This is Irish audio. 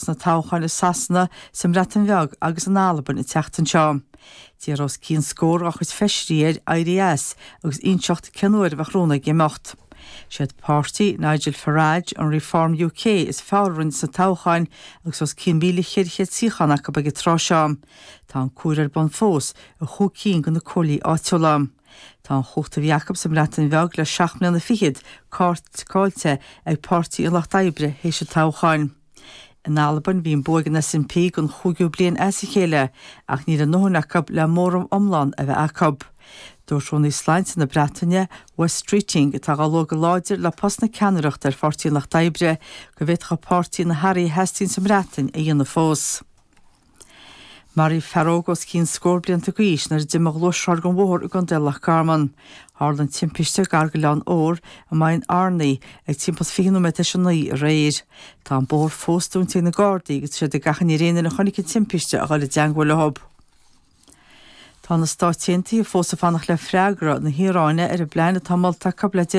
Sna toghcháin i Sasana, sa mBreatain Bheag agus in Albain an tseachtain seo. D'iarr os cionn scór dá chuid feisirí air éirí as agus inseacht cén uair a bheadh rún aige imeacht. Siad páirtí Nigel Farage, an Reform UK, is fearr a rinne sna toghcháin agus os cionn 1,400 suíochán acu ag an tráth seo. Tá an comhaireamh ar bun fós i chúig cinn de na comhairlí áitiúla. Tá an chumhacht a bhí acu sa mBreatain Bheag le seacht mbliana fichead caillte ag Páirtí an Lucht Oibre théis an toghcháin. In Albain bhí an bua ag an SNP don chúigiú bliain as a chéile ach níl a ndóthain acu le móramh iomlán a bheith acu. Dúirt Rúnaí Sláinte na Breataine, Wes Streeting, atá á lua go láidir le post na ceannaireachta ar Pháirtí an Lucht Oibre, go bhféadfadh a pháirtí na hathruithe a theastaíonn sa mBreatain a dhéanamh fós. Maraíodh fear óg os cionn scór blianta d'aois nuair a d'imigh a ghluaisrothar den bhóthar i gContae Loch Garman. Tharla an timpiste gar d'Oileán Odhar i Maigh Arnaí ag timpeall 20 nóiméad tar éis a 9 aréir. Tá an bóthar fós dúnta ag na Gardaí agus tá siad ag achainí ar aon duine a chonaic an timpiste a dhul i dteangmháil leo. Tá na Stáit Aontaithe fós ag fanacht le freagra na hIaráine ar an bplean atá molta acu le.